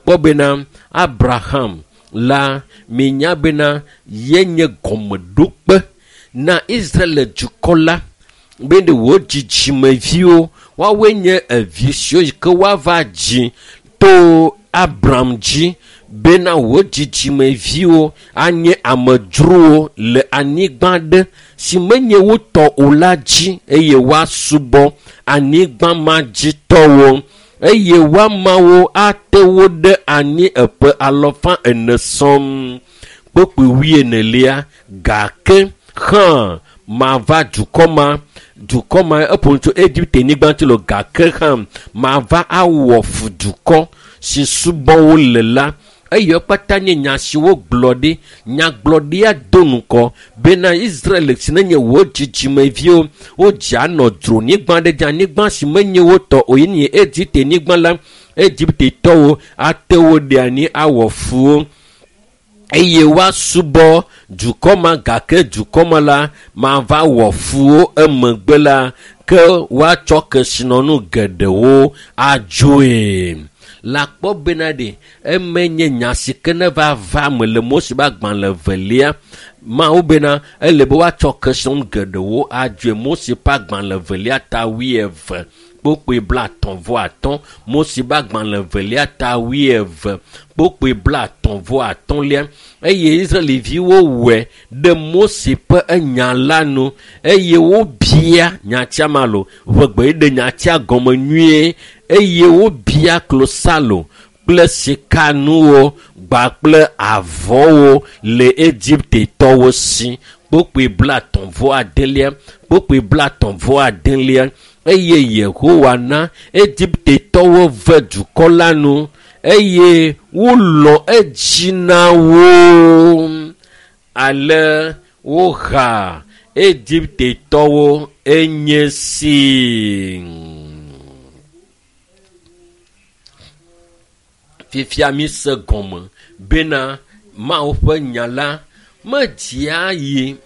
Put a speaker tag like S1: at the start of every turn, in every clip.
S1: Lakpɔ bena Abraham la minya bena yenye gɔmeɖokpe na Israel dukɔ la be ɖe wò dzidzimeviwo woawoe nye evi siwo yi ke woava dzi to Abram dzi bena wò dzidzimeviwo anye amedzrowo le anyigba ɖe si menye wo tɔ o la dzi eye woasubɔ anyigba ma dzi tɔwo eye woamawo ate wo ɖe anyi eƒe alɔfa ene sɔm kpokpui wuienelia gake hã mava dukɔ ma dukɔ ma eƒo nu tso Egipte nyigba ŋuti lo gake hã mava awɔ fu dukɔ si subɔ wo le la eye kpata nye nya si wogblɔ ɖi nyagblɔɖia do ŋgɔ bena Israel si nenye wò dzidzimeviwo wodze anɔ dzronyigba ɖe dzi anyigba si menye wo tɔ o ye nye Egipte nyigba la Egiptetɔwo ate wo ɖe anyi awɔ fu wo eye woasubɔ dukɔ ma gake dukɔ ma la mava wɔ fu wo emegbe la ke woatsɔ kesinɔnu geɖewo adzoe. Lakpɔ bena ɖe eme nye nya si ke ne va va me le Mose ƒe agbalẽ evelia Mawu bena ele be woatsɔ kesinɔnu geɖewo adzoe. Mose ƒe agbalẽ evelia ta wuieve kpokpoe blaetɔ̃ vɔ atɔ̃. Mose ƒe agbalẽ evelia ta wuieve kpokpoe blaetɔ̃ vɔ atɔ̃lia eye Israeliviwo wɔe ɖe Mose ƒe enya la nu eye wobia nyatia ma lo ʋegbe ɖe nyatia gɔme nyuie eye wobia klosalo kple sikanuwo gba kple avɔwo le Egiptetɔwo si kpokpoe blaetɔ̃ vɔ adelia kpokpoe blaetɔ̃ vɔ adelia eye Yehowa na Egiptetɔwo ve dukɔ la nu eye wolɔ edzi na wo ale woha Egiptetɔwo enye si. Fifia mi se gɔme bena Mawu ƒe nya la medzia yi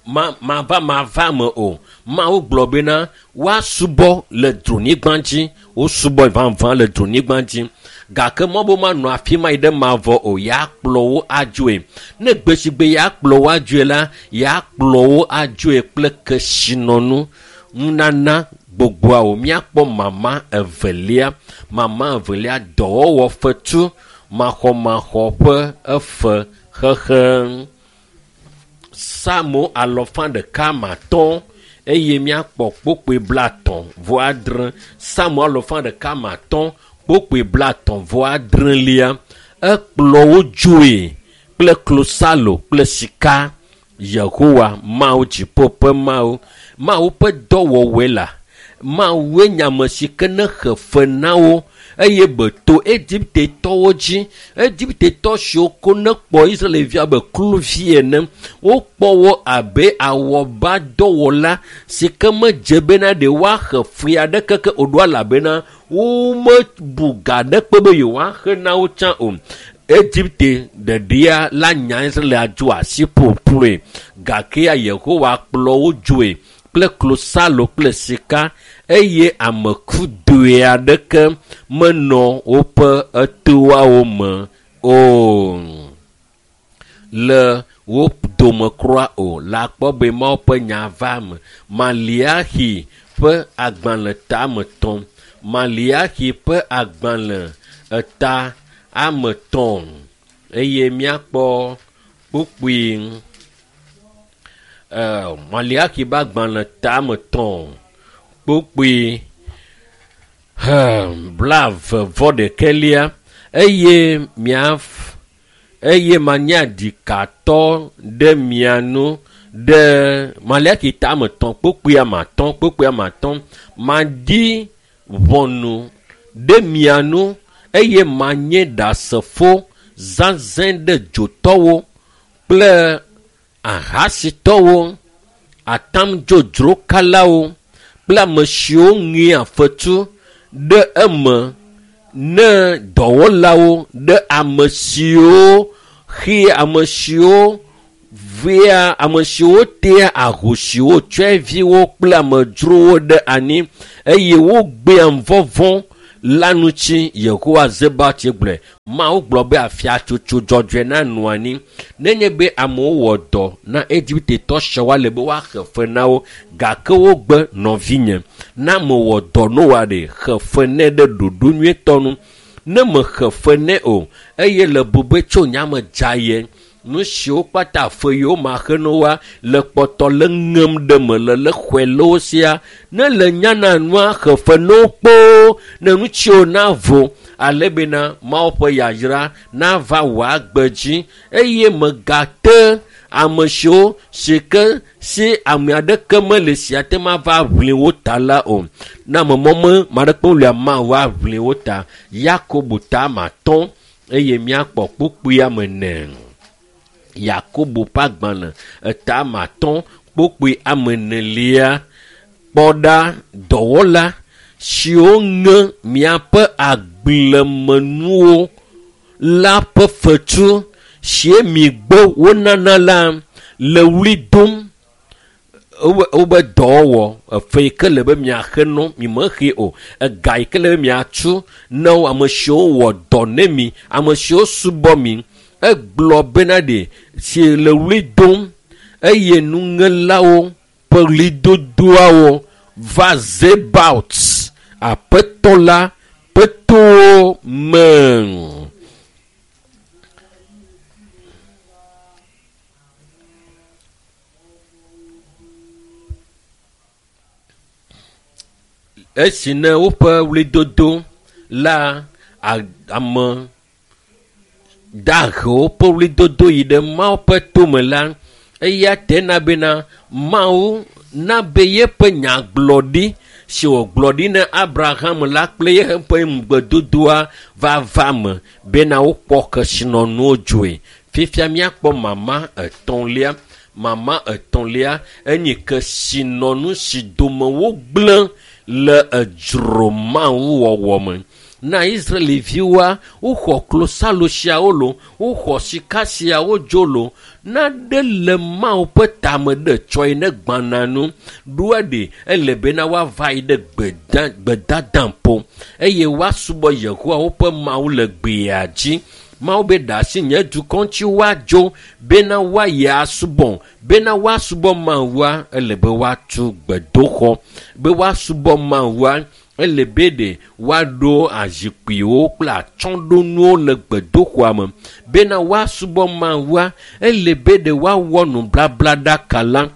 S1: mava mava me o. Mawu gblɔ bena woasubɔ le dzronyigba dzi wosubɔ vavã le dzronyigba dzi gake mɔ be womanɔ afi ma yi ɖe mavɔ o yeakplɔ wo adzoe. Ne gbe si gbe yeakplɔ wo adzoe la yeakplɔ wo adzoe kple kesinɔnu nunana gbogboawo. Míakpɔ mama evelia mama evelia dɔwɔwɔ fetu maxɔmaxɔ ƒe efe xexe. Psalmo alɔfa ɖeka matɔ̃ eye míakpɔ kpokpoe blaetɔ̃ vɔ adre. Psalmo alɔfa ɖeka matɔ̃ kpokpoe blaetɔ̃ vɔ adrelia ekplɔ wo dzoe kple klosalo kple sika. Yehowa Mawu dziƒo ƒe Mawu Mawu ƒe dɔwɔwɔe la Mawue nye ame si ke ne xe fe na wo eye beto Egiptetɔwo dzi. Egiptetɔ siwo ko ne kpɔ Israelvi abe kluvi ene wokpɔ wo abe awɔbadɔwɔla si ke medze bena ɖe woaxe fui aɖeke ke o ɖo elabena womebu ga aɖeke be yewoaxe na wo tsã o. Egipte ɖeɖia la nya Israel adzo asi ƒoƒloe gake ya Yehowa kplɔ wo dzoe kple klosalo kple sika eye ame kudoe aɖeke menɔ woƒe etoawo me o. Le wo dome kura o. Le akpɔ be Mawu ƒe nya va me. Maliaxi ƒe agbalẽ ta ame etɔ̃. Maliaxi ƒe agbalẽ eta ame etɔ̃ eye míakpɔ kpukpui Maliaxi ƒe agbalẽ ta ame etɔ̃ kpukpui blaeve vɔ ɖekɛlia eye mia eye manye ɖikatɔ ɖe mia nu ɖe Maliaxi ta ame etɔ̃ kpukpui ame atɔ̃ kpukpui ame atɔ̃ maɖi ʋɔnu ɖe mia nu eye manye ɖasefo zazɛ̃ ɖe dzotɔwo kple ahasitɔwo, atamdzodzrokalawo kple ame siwo ŋea fetu ɖe eme ne dɔwɔlawo ɖe ame siwo xea ame siwo vea ame siwo tea ahosiwo, tsɔeviwo kple amedzrowo ɖe anyi eye wogbea vɔvɔ̃ la ŋuti. Yehowa Zebaot gblɔe. Mawu gblɔ be afiatsotso dzɔdzɔe nanɔ anyi. Nenye be amewo wɔ dɔ na Egiptetɔ siawo le be woaxe fe na wo, gake wogbe nɔvinye. Na mewɔ dɔ Noa ɖe, xe fe nɛ ɖe ɖoɖo nyuietɔ nu. Ne mexe fe nɛ o, eye le bu be tso nyame dza ye, nu siwo kpata fe yiwo maxe na woa le kpɔtɔ le ŋem ɖe me le le xɔe le wo sia. Ne le nyana nua xe fe na wo kpoo, ne nu tsiwo navo, ale bena Mawu ƒe yayra nava wò agbe dzi, eye megate ame siwo si ke si ame aɖeke mele si ate ŋu ava ʋli wo ta la o. Na ame mɔme ame aɖeke melia Mawu aʋli wo ta. Yakobo ta 5 eye míakpɔ kpukpui ame 4. Yakobo ƒe agbalẽ eta 5 kpukpui ame 4. Kpɔ ɖa, dɔwɔla siwo ŋe miaƒe agblemenuwo la ƒe fetu si mi gbe wonana la le wli dom wobe dɔwɔwɔ. Efe yi ke le be miaxe no, mi mexe o. Ega yi ke le be miatu na wo, ame siwo wɔ dɔ ne mi, ame siwo subɔ mi. Egblɔ bena ɖe si le wli dom eye nuŋelawo ƒe ɣlidodoawo va Zebaot, Aƒetɔ la ƒe towo me. Esi ne woƒe ɣlidodo la ame dahewo ƒe ɣlidodo yi ɖe Mawu ƒe tome la, eya tena bena Mawu na be yeƒe nyagblɔɖi si wògblɔ ɖi na Abraham la kple yeƒe ŋugbedodoa va va me bena wokpɔ kesinɔnuwo dzoe. Fifia míakpɔ mama etɔ̃lia. Mama etɔ̃lia enye kesinɔnu si dome wogblẽ le edzro Mawu wɔwɔ me. Na Israeliviwoa, woxɔ klosalo siawo lo, woxɔ sika siawo dzo lo. Na ɖe le Mawu ƒe tame ɖe tsɔe ne gbana nu. Ɖoa ɖe ele bena woava yi ɖe gbedadaƒo eye woasubɔ Yehowa woƒe Mawu le gbea dzi. Mawu be ɖe asi nye dukɔ ŋuti woadzo bena woayi asubɔ. Bena woasubɔ Mawua, ele be woatu gbedoxɔ. Be woasubɔ Mawua, ele be ɖe woaɖo azikpuiwo kple atsyɔ̃ɖonuwo le gbedoxɔa me. Bena woasubɔ Mawua, ele be ɖe woawɔ nubablaɖaka la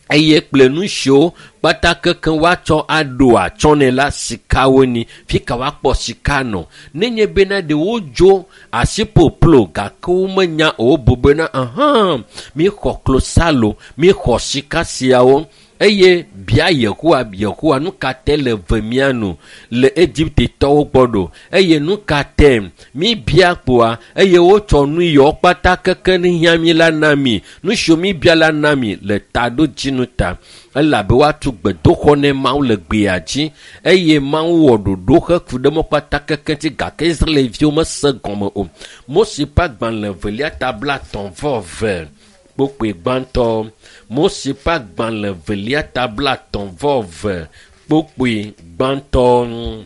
S1: eye kple nu siwo kpata keke woatsɔ aɖo atsyɔ̃ nɛ la, sikawo ni. Fi ka woakpɔ sika nɔ? Nenye bena ɖe wodzo asiƒoƒlo gake womenya o, wobu bena ahã, míxɔ klosalo, míxɔ sika siawo. Eye bia Yehowa, Yehowa, nu ka te le ve mía nu le Egiptetɔwo gbɔ ɖo? Eye nu ka te míbia kpoa? Eye wotsɔ nu yawo kpata keke ne hiã mí la na mi. Nu siwo míbia la na mi le taɖodzinu ta. Elabe woatu gbedoxɔ ne Mawu le gbea dzi. Eye Mawu wɔ ɖoɖo heku ɖe mɔ kpata keke ŋuti gake Israelviwo mese gɔme o. Mose ƒe agbalẽ 2 ta 32 kpukpui gbãtɔ. Mose ƒe agbalẽ 2 ta 32 kpukpui gbãtɔ.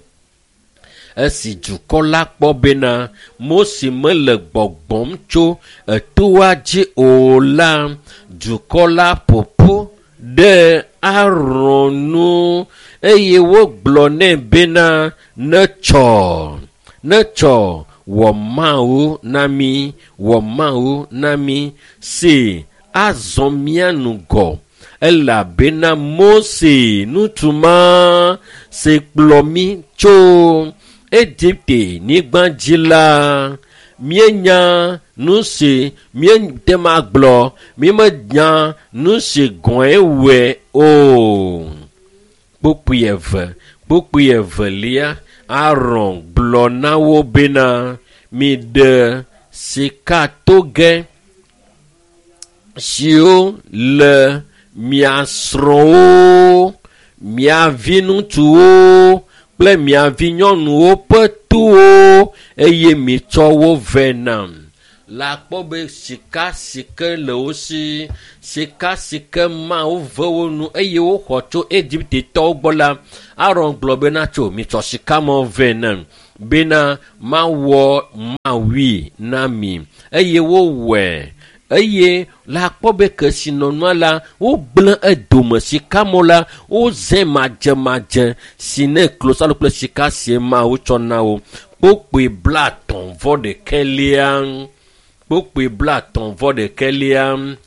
S1: Esi dukɔ la kpɔ bena Mose mele gbɔgbɔm tso etoa dzi o la, dukɔ la ƒoƒu ɖe Aron nu eye wogblɔ nɛ bena netsɔ, netsɔ wɔ Mawu na mí, wɔ Mawu na mí, si azɔ mía ŋgɔ. Elabena Mose ŋutsu ma si kplɔ mí tso Egipte nyigba dzi la, míenya nu si míete ŋu agblɔ, mímenya nu si gɔ̃e wɔe o. Kpukpui 2, kpukpui 2, Aron gblɔ na wo bena miɖe sikatoge siwo le mia srɔ̃wo, mia viŋutsuwo kple mia vinyɔnuwo ƒe towo eye mitsɔ wo vɛ nam. La kpɔ be sika si ke le wo si, sika si ke Mawu ve wo nu eye woxɔ tso Egiptetɔwo gbɔ la, Aron gblɔ bena tso mitsɔ sika mɔ vɛ nam bena mawɔ mawui na mi eye wowɔe. Eye la kpɔ be kesinɔnua la wogblẽ edome sikamɔ la wozẽ madzemadze si ne klosalo kple sika sie Mawu tsɔ na wo. Kpokpoe 33. Kpokpoe 33.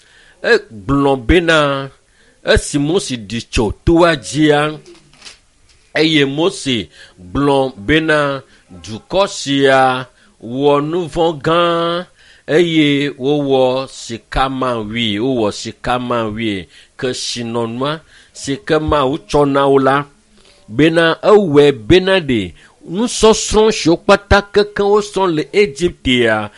S1: Egblɔ bena esi Mose ɖi tso toa dzia, eye Mose gblɔ bena dukɔ sia wɔ nu vɔ̃ gã eye wowɔ sikamawui, wowɔ sikamawui kesinɔnua si ke Mawu tsɔ na wo la bena ewɔe bena ɖe nusɔsrɔ̃ siwo kpata keke wosrɔ̃ le Egiptea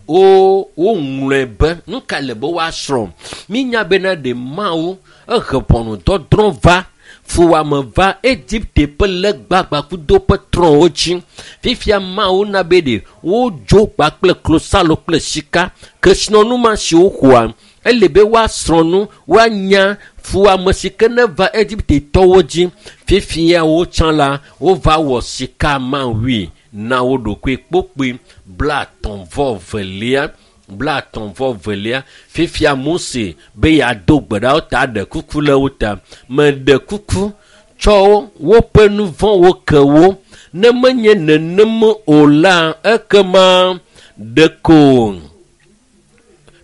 S1: woŋlɔe be nu ka le be woasrɔ̃. Mínya bena ɖe Mawu ehe ʋɔnudɔdrɔ̃ va fuwɔame va Egipte ƒe legbagbãkudo ƒe trɔ̃wo dzi. Fifia Mawu na be ɖe wodzo kpakple klosalo kple sika kesinɔnu ma si woxɔa ele be woasrɔ̃ nu woanya fuwɔame si ke ne va Egiptetɔwo dzi. Fifia wotsã la wova wɔ sika mawui na wo ɖokui kpokpoe 32. 32. Fifia Mose be yeado gbe ɖa wo ta ɖe kuku le wo ta. Meɖe kuku tsɔ woƒe nu vɔ̃wo ke wo. Ne menye nenem o la ekema ɖeko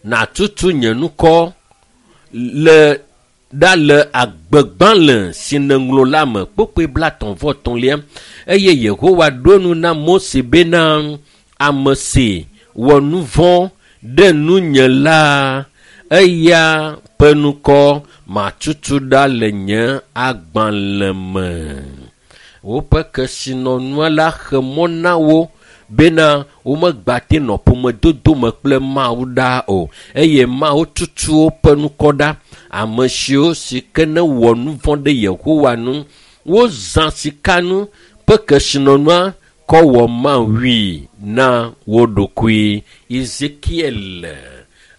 S1: nàtutu nye ŋkɔ le ɖa le agbegbalẽ si nèŋlɔ la me. Kpokpoe 33. Eye Yehowa ɖo nu na Mose bena ame si wɔ nu vɔ̃ ɖe nunye la eya ƒe ŋkɔ matutu ɖa le nye agbalẽ me. Woƒe kesinɔnua la xe mɔ na wo bena womegbate nɔ ƒomedodo me kple Mawu ɖa o eye Mawu tutu woƒe ŋkɔ ɖa. Ame siwo si ke ne wɔ nu vɔ̃ ɖe Yehowa nu, wozã sikanu ƒe kesinɔnua kɔ wɔ mawui na wo ɖokui. Ezekiel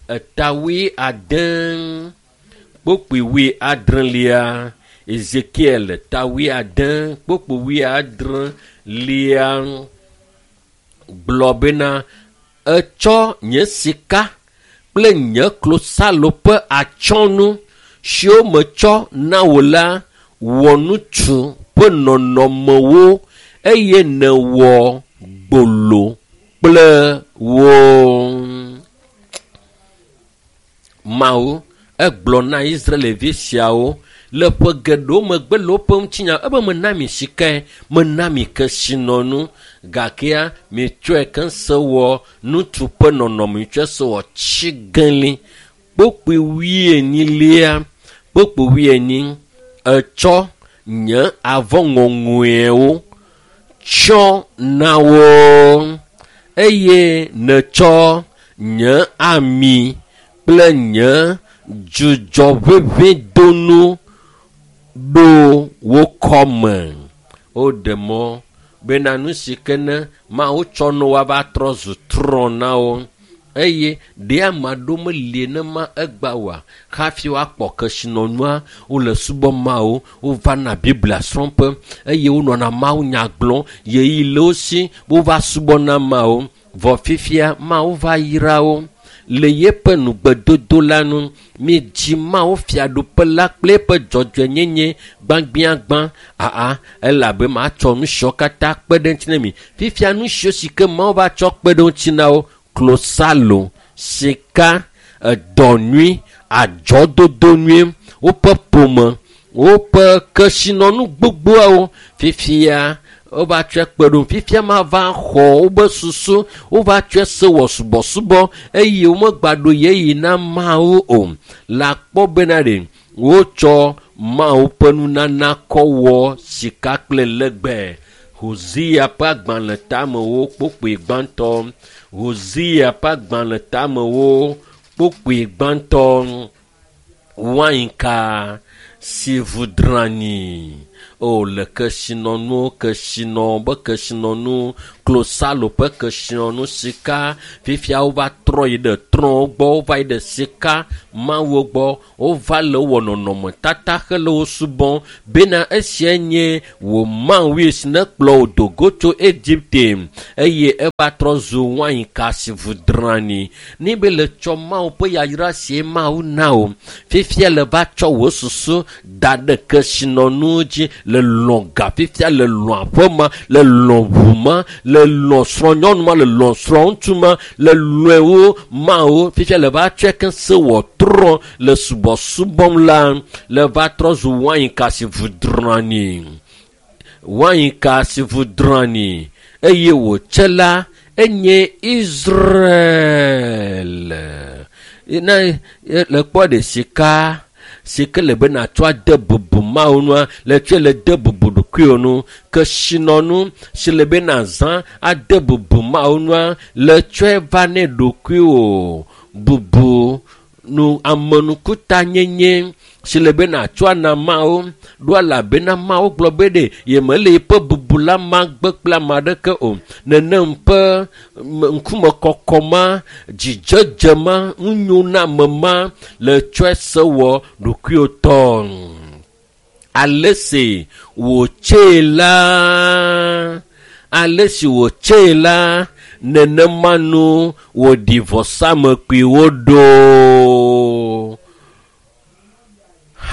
S1: eta 70 kpokpoe 70. Ezekiel ta 70 kpokpoe 70 gblɔ bena etsɔ nye sika kple nye klosalo ƒe atsyɔ̃nu siwo metsɔ na wò la wɔ ŋutsu ƒe nɔnɔmewo eye nèwɔ gbolo kple wo. Mawu egblɔ na Israelvi siawo le ƒe geɖewo megbe le woƒe ŋutinya ebe mena mi sikae, mena mi kesinɔnu gakea mitsɔe keŋ se wɔ ŋutsu ƒe nɔnɔme, mitsɔe se wɔ tsigãli. Kpokpoe 40, kpokpoe 40 etsɔ nye avɔ ŋɔŋɔewo tsyɔ na wo eye nètsɔ nye ami kple nye dzudzɔʋeʋẽdonu ɖo wo kɔme. Woɖe mɔ bena nu si ke ne Mawu tsɔ no woava trɔ zu trɔ̃ na wo eye ɖe ame aɖewo meli nema egba oa hafi woakpɔ kesinɔnua wole subɔ Mawu, wovana Biblia srɔ̃ƒe eye wonɔna Mawu nya gblɔm ɣeyiɣi le wo si wova subɔna Mawu. Vɔ fifia Mawu va yra wo le yeƒe nugbedodo la nu. Midzi Mawu fiaɖuƒe la kple eƒe dzɔdzɔenyenye gbãgbiagbã. Aa elabe matsɔ nu siawo katã kpe ɖe ŋuti na mi. Fifia nu siwo si ke Mawu va tsɔ kpe ɖe ŋuti na wo klosalo, sika, edɔ nyui, adzɔdodo nyui, woƒe ƒome, woƒe kesinɔnu gbogboawo. Fifia wova tsɔe kpe ɖo. Fifia mava xɔ wobe susu, wova tsɔe se wɔ subɔsubɔ eye womegbaɖo ɣeyiɣi na Mawu o. La kpɔ bena ɖe wotsɔ Mawu ƒe nunana kɔ wɔ sika kple legbe. Hosea ƒe agbalẽ tamewo kpokpoe gbãtɔ. Hosea ƒe agbalẽ tamewo kpokpoe gbãtɔ. Wainka si vu drani. O le kesinɔnuwo, kesinɔ be kesinɔnu Klosalo ƒe kesinɔnu sika. Fifia wova trɔ yi ɖe trɔ̃wo gbɔ, wova yi ɖe sika mawuwo gbɔ, wova le wɔ nɔnɔmetata hele wo subɔm bena esia nye wò Mawu si nekplɔ wò do go tso Egipte eye eva trɔ zu wainka si vu drani. Ne be le tsɔ Mawu ƒe yayra sie Mawu na wò, fifia le va tsɔ wò susu da ɖe kesinɔnuwo dzi le lɔ̃ ga, fifia le lɔ̃ aƒe ma, le lɔ̃ ʋu ma, le lɔ̃ srɔ̃nyɔnu ma, le lɔ̃ srɔ̃ŋutsu ma, le lɔ̃e wo Mawu, fifia le va tsɔe ke se wɔ trɔ le subɔsubɔm la, le va trɔ zu wainka si vu drani. Wainka si vu drani eye wòtse la enye Israel. Ne le kpɔ ɖe sika si ke le be nàtsɔ ade bubu Mawu nua, le tsɔe le de bubu ɖokuiwò nu. Kesinɔnu si le be nàzã ade bubu Mawu nua, le tsɔe va ne ɖokuiwò. Bubu nu amenukutanyenye si le be nàtsɔ ana Mawu ɖo elabena Mawu gblɔ be ɖe yemele yeƒe bubu la ma gbe kple ame aɖeke o. Nenem ƒe ŋkumekɔkɔ ma, dzidzedze ma, nunyoname ma le tsɔe se wɔ ɖokuiwò tɔ. Ale si wòtsee la, ale si wòtsee la, nenema nu wòɖi vɔsamlekpuiwo ɖo.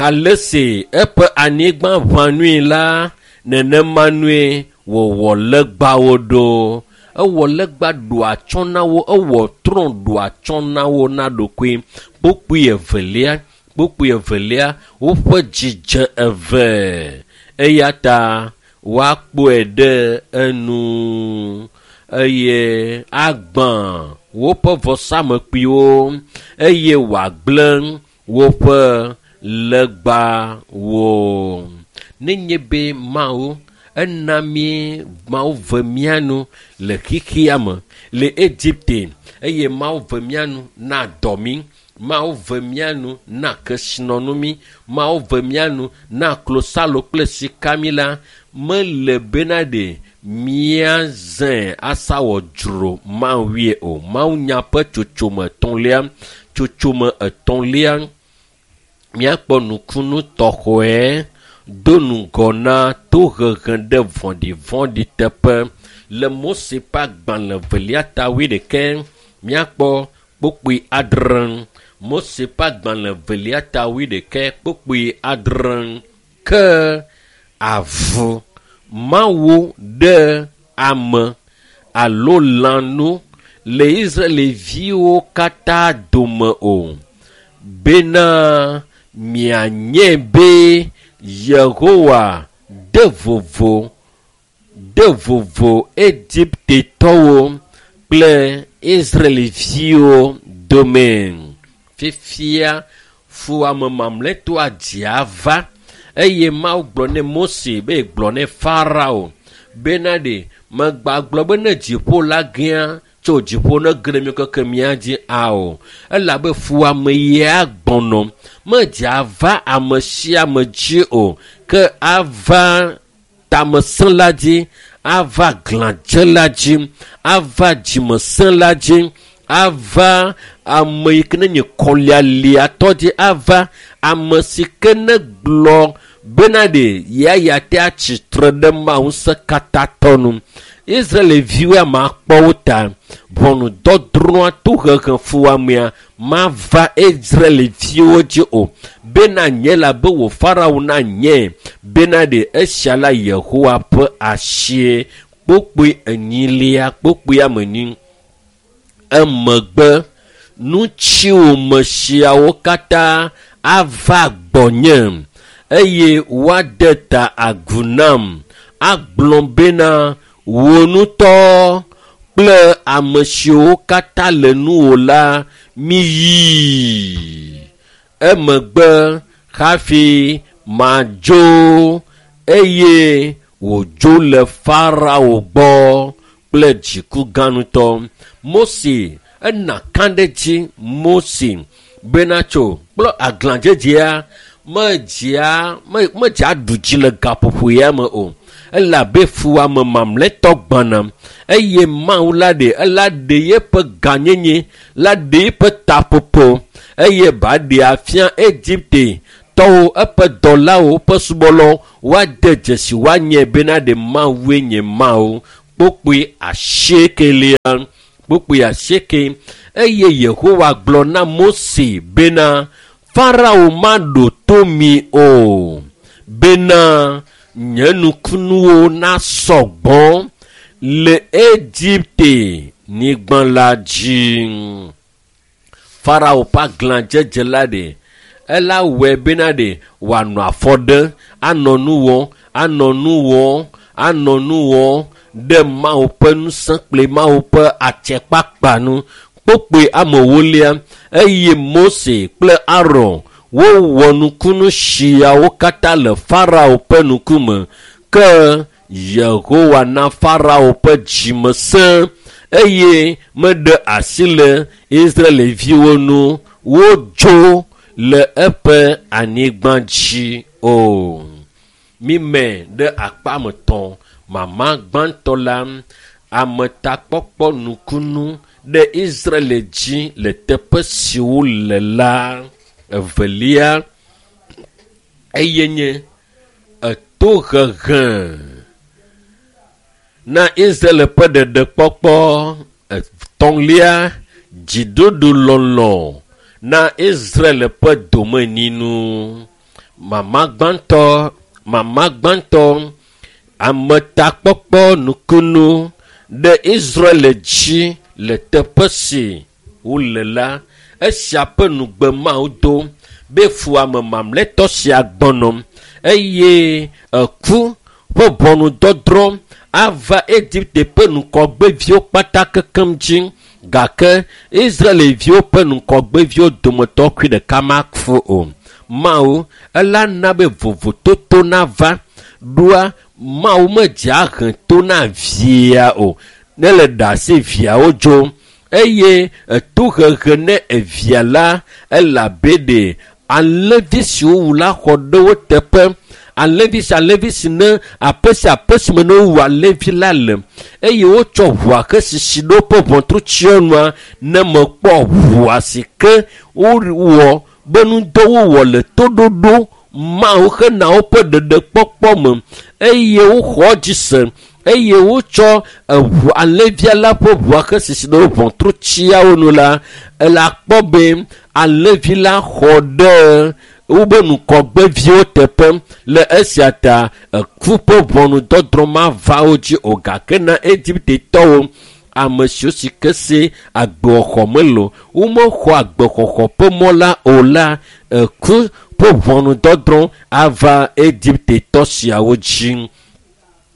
S1: Ale si eƒe anyigba ʋã nui la, nenema nue wòwɔ legbawo ɖo. Ewɔ legba ɖo atsyɔ̃ na wo, ewɔ trɔ̃ ɖo atsyɔ̃ na wo na ɖokui. Kpukpui evelia, kpukpui evelia, woƒe dzidze eve eya ta woakpɔe ɖe enu eye agbã woƒe vɔsamlekpuiwo eye wòagblẽ woƒe legbawo. Nenye be Mawu ena mí Mawu ve mía nu le xexea me le Egipte eye Mawu ve mía nu na dɔ mí, Mawu ve mía nu na kesinɔnu mí, Mawu ve mía nu na klosalo kple sika mí la, mele bena ɖe míazãe asa wɔ dzro Mawue o. Mawunya ƒe tsotsome etɔ̃lia, tsotsome etɔ̃lia, míakpɔ nukunu tɔxɔe do ŋgɔ na tohehe ɖe vɔ̃ɖivɔ̃ɖi teƒe. Le Mose ƒe agbalẽ evelia ta wuiɖekɛ, míakpɔ kpukpui adre. Mose ƒe agbalẽ evelia ta wuiɖekɛ kpukpui adre. Ke avu Mawu ɖe ame alo lãnu le Israelviwo katã dome o, bena mianye be Yehowa de vovo de vovo Egiptetɔwo kple Israelviwo dome. Fifia fuwɔame mamlɛtɔa dzia va eye Mawu gblɔ ne Mose be gblɔ ne Farao bena ɖe megbagblɔ be ne dziƒo la gea tso dziƒo ne ge ɖe míawo keke mía dzi ao. Elabe fuwɔame ya gbɔnɔ medzea va ame sia ame dzi o ke ava tamesẽla dzi, ava glãdzela dzi, ava dzimesẽla dzi, ava ame yi ke ne nye kɔlialiatɔ dzi, ava ame si ke ne gblɔ bena ɖe yeaya te atsitre ɖe Mawu ŋusẽkatãtɔ nu. Israelviwo ame akpɔ wo ta. Ʋɔnudɔdrɔ̃a tohehe fuwɔamea mava Israelviwo dzi o. Bena nye la be wò Farao na nye bena ɖe esia la Yehowa ƒe asie. Kpukpui enyilia, kpukpui ame enyi. Emegbe nutsiwòme siawo katã ava gbɔnye eye woade ta agu nam agblɔ bena wò ŋutɔ kple ame siwo katã le nuwò la miyi. Emegbe hafi madzo eye wòdzo le Farao gbɔ kple dziku gã ŋutɔ. Mose ena kã ɖe dzi Mose bena tso kple aglãdzedzea medzea medzea ɖu dzi le gaƒoƒo ya me o. Elabe fuwɔame mamlɛtɔ gbɔna eye Mawu la ɖe ela ɖe yeƒe gãnyenye la ɖe yeƒe taƒoƒo eye ba ɖe afia Egipte tɔwo eƒe dɔlawo ƒe subɔlawo woade dzesi woanye bena ɖe Mawue nye Mawu. Kpokpoe asiekelia kpokpoe asieke eye Yehowa gblɔ na Mose bena Farao maɖo to mi o bena nye nukunuwo nasɔ gbɔ le Egipte nyigba la dzi. Farao ƒe aglãdzedze la ɖe ela wɔe bena ɖe wòanɔ afɔ ɖem anɔ nu wɔm anɔ nu wɔm anɔ nu wɔm ɖe Mawu ƒe ŋusẽ kple Mawu ƒe atsɛkpakpa nu. Kpokpoe ame ewolia eye Mose kple Aron wowɔ nukunu siawo katã le Farao ƒe ŋkume. Ke Yehowa na Farao ƒe dzime sẽ eye meɖe asi le Israelviwo ŋu wodzo le eƒe anyigba dzi o. Mime ɖe akpa me tɔ̃ mama gbãtɔ la ametakpɔkpɔ nukunu ɖe Israel dzi le teƒe si wole la. Evelia eye nye etohehe na Israel ƒe ɖeɖekpɔkpɔ. Etɔ̃lia dziɖuɖu lɔlɔ na Israel ƒe domenyinu. Mama gbãtɔ ametakpɔkpɔ nukunu ɖe Israel dzi le teƒe si wole la. Esia ƒe nugbe Mawu do be fuwɔame mamlɛtɔ sia gbɔnɔ eye eku ƒe ʋɔnudɔdrɔ̃ ava Egipte ƒe ŋgɔgbeviwo kpata kekem dzi gake Israelviwo ƒe ŋgɔgbeviwo dometɔ kui ɖeka maku o. Mawu ela na be vovototo nava ɖoa Mawu medzea he to na via o ne le ɖe asi viawo dzo eye etohehe ne evia la elabe ɖe alẽvi si wowu la xɔ ɖe wo teƒe. Alẽvi si ne aƒe sia aƒe si me ne wowu alẽvi la le eye wotsɔ ʋua ke sisi ɖe woƒe ʋɔtru tsyɔnua ne mekpɔ ʋua si ke wowɔ be ŋudɔ wowɔ le toɖoɖo Mawu hena woƒe ɖeɖekpɔkpɔ me eye woxɔ dzi se eye wotsɔ eʋu alẽvia la ƒe ʋua ke sisi ɖe ʋɔtru tsiawo nu la ela kpɔ be alẽvi la xɔ ɖe wobe ŋgɔgbeviwo teƒe le esia ta eku ƒe ʋɔnudɔdrɔ̃ mava wo dzi o gake na Egiptetɔwo ame siwo si ke se agbexɔxɔ mele o womexɔ agbexɔxɔ ƒe mɔ la o la eku ƒe ʋɔnudɔdrɔ̃ ava Egiptetɔ siawo dzi.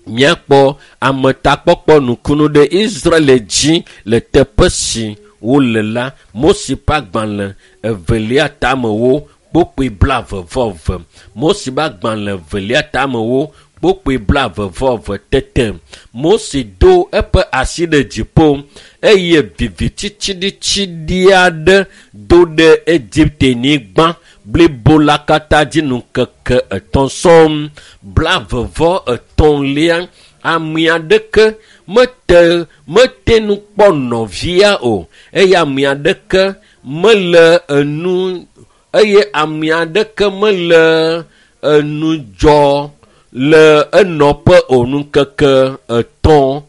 S1: Míakpɔ ametakpɔkpɔ nukunu ɖe Israel dzi le teƒe si wole la. Mose ƒe agbalẽ evelia tamewo kpokpoe 22. Mose ƒe agbalẽ evelia tamewo kpokpoe 22 tete. Mose do eƒe asi ɖe dziƒo eye viviti tsiɖitsiɖi aɖe do ɖe Egipte nyigba blibo la katã dzi ŋkeke etɔ̃ sɔŋ. 23 ame aɖeke mete nu kpɔ nɔvia o eye ame aɖeke mele enu eye ame aɖeke mele enu dzɔ le enɔƒe o ŋkeke etɔ̃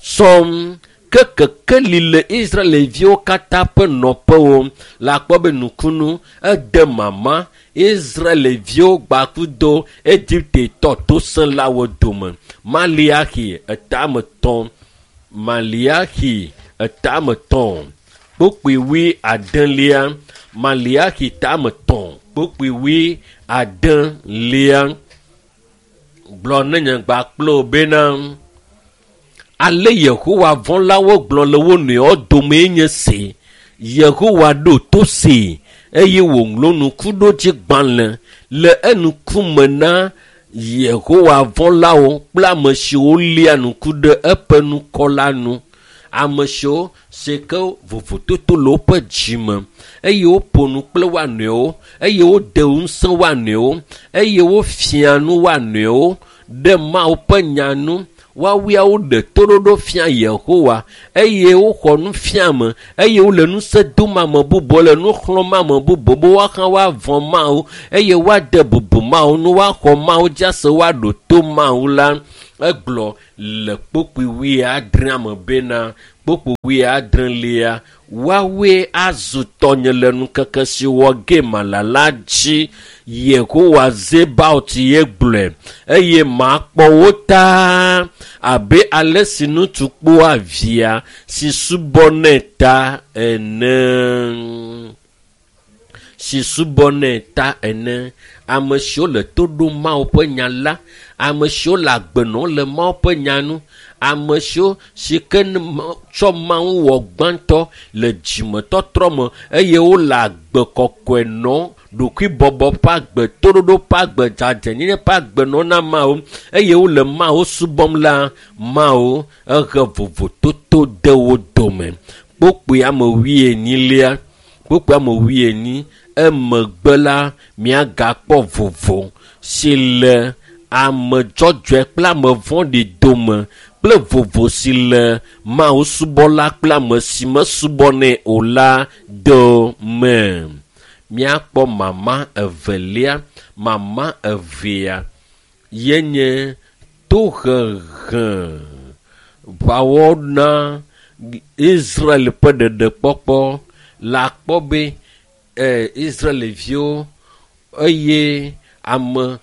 S1: sɔŋ. Ke kekeli le Israelviwo katã ƒe nɔƒewo la kpɔ be nukunu ede mama Israelviwo gbakudo Egiptetɔ tosẽlawo dome. Maliaxi etame tɔ̃ Maliaxi etame tɔ̃ kpokpoe 80 Maliaxi tame tɔ̃ kpokpoe 80 gblɔ ne nye gbakplo bena ale Yehowa vɔ̃lawo gblɔ le wo nɔewo domee nye se. Yehowa ɖo to se eye wòŋlɔ nukuɖodzigbalẽ le eŋkume na Yehowa vɔ̃lawo kple ame siwo lia ŋku ɖe eƒe ŋkɔ la nu. Ame siwo si ke vovototo le woƒe dzime eye woƒo nu kple woa nɔewo eye wode ŋusẽ woa nɔewo eye wofia nu woa nɔewo ɖe Mawu ƒe nya nu, woawoe ɖe toɖoɖo fia Yehowa eye woxɔ nufiame eye wole ŋusẽ dom ame bubuwo le nu xlɔ̃m ame bubuwo be woahã woavɔ̃ Mawu eye woade bubu Mawu nu, woaxɔ Mawu dzi ase, woaɖo to Mawu la. Egblɔ le kpukpui wuiadrea me bena kpukpui wuiadrelia, woawoe azu tɔnye le ŋkeke si wɔ ge mala la dzi. Yehowa Zebaot ye gblɔe eye makpɔ wo ta abe ale si ŋutsu kpɔa via si subɔnɛ ta ene. Si subɔnɛ ta ene. Ame siwo le to ɖom Mawu ƒe nya la, ame siwo le agbe nɔm le Mawu ƒe nya nu, ame siwo si ke tsɔ Mawu wɔ gbãtɔ le dzimetɔtrɔ me eye wole agbe kɔkɔe nɔm, ɖokuibɔbɔ ƒe agbe, toɖoɖo ƒe agbe, dzadzɛnyenye ƒe agbe nɔm na Mawu eye wole Mawu subɔm la, Mawu ehe vovototo de wo dome. Kpukpui ame wuienyilia, kpukpui ame wuienyi, emegbe la miagakpɔ vovo si le ame dzɔdzɔe kple ame vɔ̃ɖi dome kple vovo si le Mawu subɔla kple ame si mesubɔnɛ o la dome. Míakpɔ mama evelia, mama evea ye nye tohehe ʋawɔna Israel ƒe ɖeɖekpɔkpɔ. Le akpɔ be Israelviwo eye ame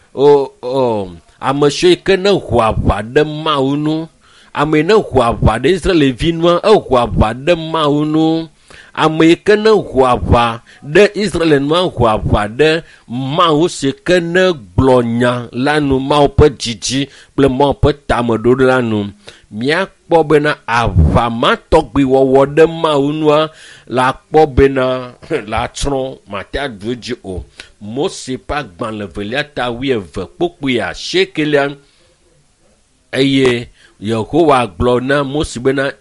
S1: ame siwo yi ke ne ho aʋa ɖe Mawu nu, ame yi ne ho aʋa ɖe Israelvi nua, eho aʋa ɖe Mawu nu. Ame yi ke ne ho aʋa ɖe Israel nua, ho aʋa ɖe Mawu si ke ne gblɔ nya la nu, Mawu ƒe dzidzi kple Mawu ƒe tameɖoɖo la nu. Míakpɔ bena aʋa ma tɔgbi wɔwɔ ɖe Mawu nua la kpɔ bena la tsrɔ̃, mate aɖu edzi o. Mose ƒe agbalẽ velia ta wuieve kpukpui asiekelia eye Yehowa gblɔ na Mose bena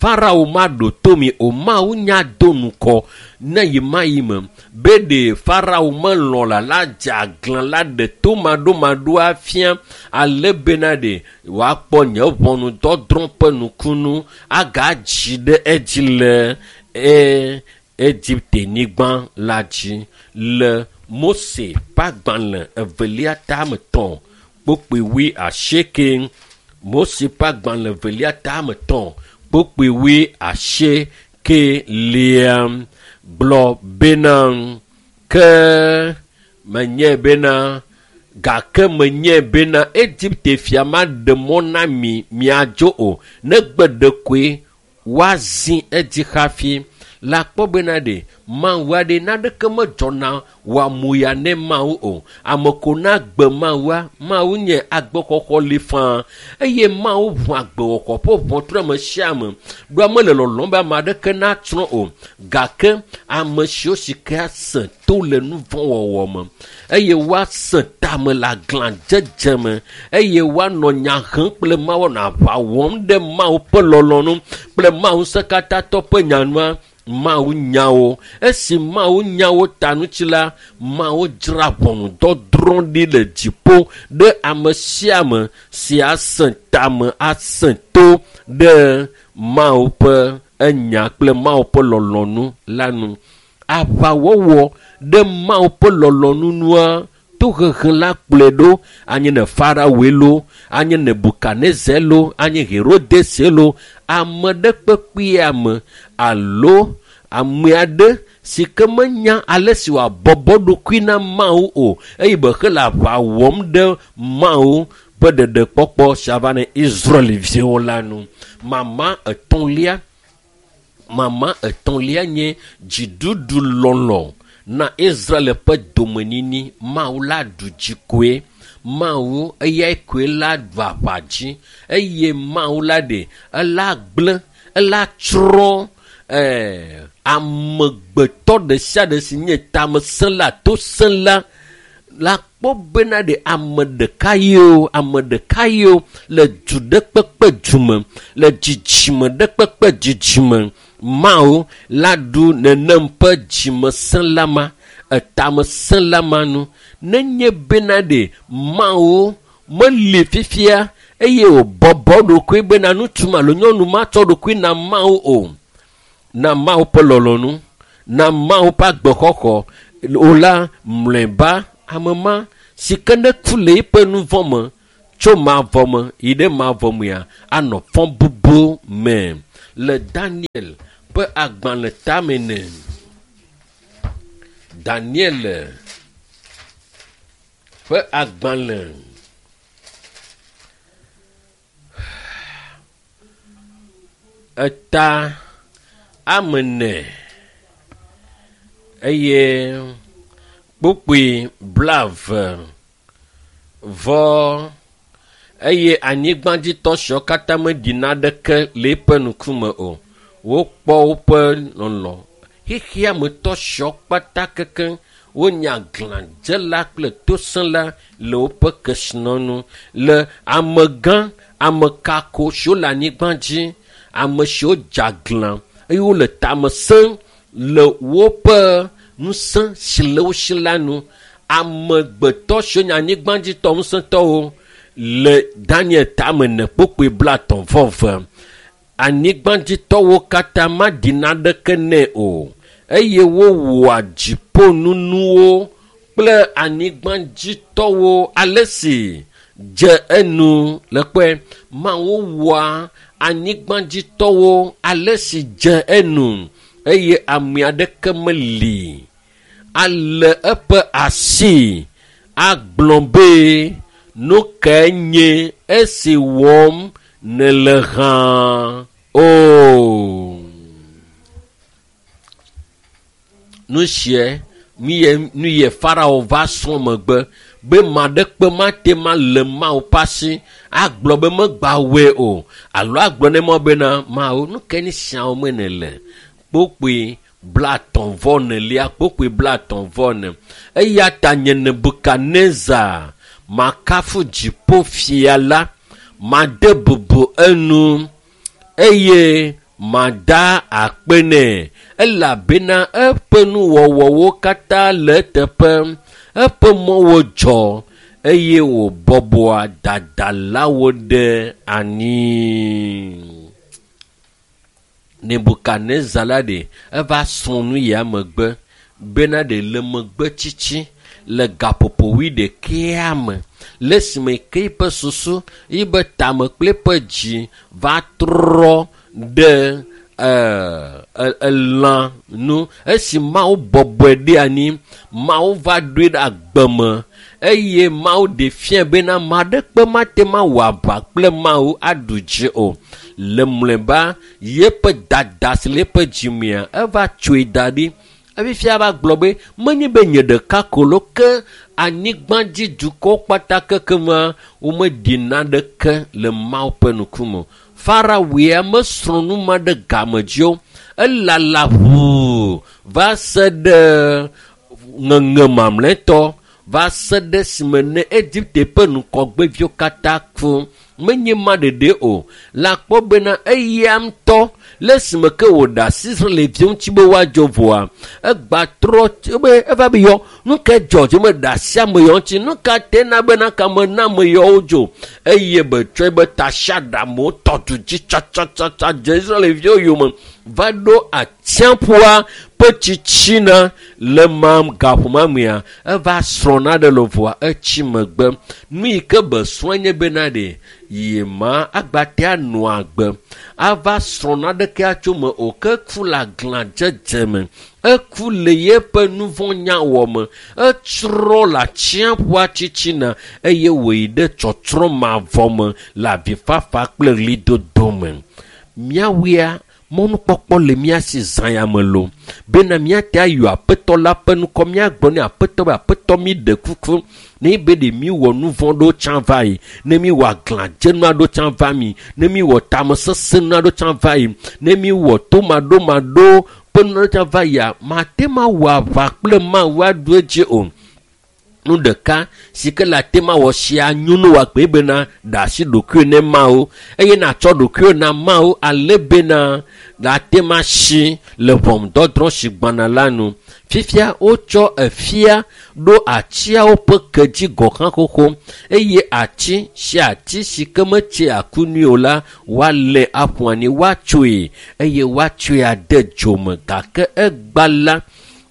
S1: Farao maɖo to mi o, Mawu nya do ŋkɔ ne yi ma yi me be ɖe Farao melɔ̃ la la dze aglã la ɖe to maɖomaɖoa fia ale bena ɖe wòakpɔ nye ʋɔnudɔdrɔ̃ ƒe nukunu agadzi ɖe edzi le Egipte-nyigba la dzi. Le Mose ƒe agbalẽ evelia ta ame etɔ̃ kpukpui wuiasieke, Mose ƒe agbalẽ evelia ta ame etɔ̃ kpukpui wuiasiekelia gblɔ bena ke menye bena gake menye bena Egipte fia maɖe mɔ na mi miadzo o, negbe ɖekoe woazi edzi hafi. La kpɔ bena ɖe Mawu aɖe naneke medzɔna wòamu ya ne Mawu o. Ame ko na gbe Mawua, Mawu nye agbexɔxɔ li faa eye Mawu ʋu agbexɔxɔ ƒe ʋɔtru ame sia ame. Ɖo ame le lɔlɔ̃m be ame aɖeke natsrɔ̃ o, gake ame siwo si ke ase to le nu vɔ̃ wɔwɔ me eye woase tame le aglãdzedze me eye woanɔ nya hem kple Mawu, anɔ aʋa wɔm ɖe Mawu ƒe lɔlɔ̃nu kple Mawu ŋusẽkatãtɔ ƒe nyanua, Mawu nya wo. Esi Mawu nya wo ta ŋuti la, Mawu dzra ʋɔnudɔdrɔ̃ ɖi le dziƒo ɖe ame sia ame si ase tame ase to ɖe Mawu ƒe enya kple Mawu ƒe lɔlɔ̃nu la nu. Aʋawɔwɔ ɖe Mawu ƒe lɔlɔ̃nu nua, tohehe la kplɔe ɖo, anye ne Faraoe lo, anye Nebukadnezar lo, anye Herodes lo, ame ɖe kpekpe ame alo ame aɖe si ke menya ale si wòabɔbɔ ɖokui na Mawu o eye be hele aʋa wɔm ɖe Mawu ƒe ɖeɖekpɔkpɔ si ava ne Israelviwo la nu. Mama etɔ̃lia nye dziɖuɖu lɔlɔ̃ na Israel ƒe domenyinyi. Mawu la ɖu dzi koe. Mawu eyae koe la ɖu aʋa dzi eye Mawu la ɖe ela gblẽ, ela tsrɔ̃ amegbetɔ ɖe sia ɖe si nye tamesẽla, tosẽla la kpɔ bena ɖe ame ɖeka yio, ame ɖeka yio le du ɖe kpekpe du me, le dzidzime ɖe kpekpe dzidzime. Mawu la ɖu nenem ƒe dzimesẽla ma, etamesẽla ma nu. Nenye bena ɖe Mawu meli fifia eye wòbɔbɔ ɖokui bena ŋutsu ma alo nyɔnu matsɔ ɖokui na Mawu o, na Mawu ƒe lɔlɔ̃nu, na Mawu ƒe agbexɔxɔ o la, mlɔeba ame ma si ke ne ku le eƒe nu vɔ̃ me tso mavɔ me yi ɖe mavɔ mea, anɔ fɔbubu me. Le Daniel ƒe agbalẽ tame ne. Daniel ƒe agbalẽ eta ame ene eye kpukpui 20 vɔ eye anyigbadzitɔ siwo katã meɖi naneke le eƒe ŋkume o. Wokpɔ woƒe lɔlɔ. Xexeametɔ siwo kpata kekeŋ wonye aglãdzela kple tosẽla le woƒe kesinɔnu. Le amegã, ame kako siwo le anyigba dzi, ame siwo dze aglã eye wole tame sẽm le woƒe ŋusẽ si le wo si la nu. Amegbetɔ siwo nye anyigbadzitɔ ŋusẽtɔwo le Daniel tame ne kpukpui 30 vɔ eve. Anyigbadzitɔwo katã maɖi naneke nɛ o eye wowɔa dziƒonunuwo kple anyigbadzitɔwo ale si dze enu le kpɔe. Mawu wɔa anyigbadzitɔwo ale si dze enu eye ame aɖeke meli ale eƒe asi agblɔ be nu kae nye esi wɔm nèle hã o. Nu sie nu ye Farao va srɔ̃ megbe be maɖekpe mate ma le Mawu ƒe asi agblɔ be megba wɔe o alo agblɔ ne mɔ bena Mawu nu kae nye siawo me nèle. Kpukpui 34 kpukpui 34 ne. Eya ta nye Nebukadnezar makafu dziƒofia la, made bubu enu eye mada akpe nɛ elabena eƒe nuwɔwɔwo katã le eteƒe, eƒe mɔwo dzɔ eye wòbɔbɔa dadalawo ɖe anyi. Nebukadnezar la ɖe eva srɔ̃ nu ya megbe bena ɖe le megbe tsitsi le gaƒoƒo wuiɖekɛa me le esime ke eƒe susu, yibe tame kple eƒe dzi va trɔ ɖe elã nu. Esi Mawu bɔbɔe ɖe anyi, Mawu va ɖoe ɖe agbe me eye Mawu ɖe fia bena ame aɖekpe mate ma wɔ aʋa kple Mawu aɖu dzi o. Le mlɔeba yeƒe dada si le eƒe dzimea eva tsoe da ɖi. Efifia va gblɔ be menye be nye ɖeka ko lo ke anyigbadzi dukɔwo kpata kekema womeɖi naneke le Mawu ƒe ŋkume o. Farao ya mesrɔ̃ nu ma ɖe game dzi o. Elala ʋuu va se ɖe ŋeŋe mamlɛtɔ va se ɖe esime ne Egipte ƒe ŋgɔgbeviwo katã ku. Menye ma ɖeɖe o. La kpɔ bena eya ŋutɔ le esime ke wòɖe asi Israelviwo ŋuti be woadzo vɔa, egba trɔ be eva be yɔ nu ke dzɔ dzi meɖe asi ame yawo ŋuti, nu ka te na bena kame na ame yawo dzo eye be tsɔe be tasiaɖamwo tɔ du dzi tsatsatsa dze Israelviwo yome va ɖo atsiaƒua ƒe tsitsina le ma gaƒoƒo mea eva srɔ̃ naɖe le vɔa etsi megbe. Nu yi ke be srɔ̃e nye bena ɖe yi ma agbate anɔ agbe ava srɔ̃ naɖeke atso me o ke ku le aglãdzedze me, eku le yeƒe nu vɔ̃ nyawɔ me, etsrɔ̃ le atsiaƒua tsitsina eye wòyi ɖe tsɔtsrɔ̃ mavɔ me le avifafa kple ɣlidodo me. Míawoea mɔnukpɔkpɔ le mía si zã ya me lo bena míate ayɔ aƒetɔ la ƒe ŋkɔ, míagblɔ ne aƒetɔ be aƒetɔ mi ɖe kuku ne be ɖe míwɔ nu vɔ̃ ɖewo tsã va yi, ne míwɔ aglãdzenu aɖewo tsã va mi, ne míwɔ tamesesẽnu aɖewo tsã va yi, ne míwɔ tomaɖomaɖo ƒe nu aɖewo tsã va yia, mate ma wɔ aʋa kple Mawu aɖu edzi o. Nu ɖeka si ke le ate ma wɔ sia nyonu wa kpe bena ɖe asi ɖokuiwò ne Mawu eye natsɔ ɖokuiwò na Mawu ale bena le ate ma si le ʋɔnudɔdrɔ̃ si gbɔna la nu. Fifia wotsɔ efia ɖo atiawo ƒe ke dzi gɔ̃ hã xoxo eye ati sia ati si ke metse aku nui o la, woalé aƒu anyi, woatsoe eye woatsɔe ade dzo me. Gake egba la,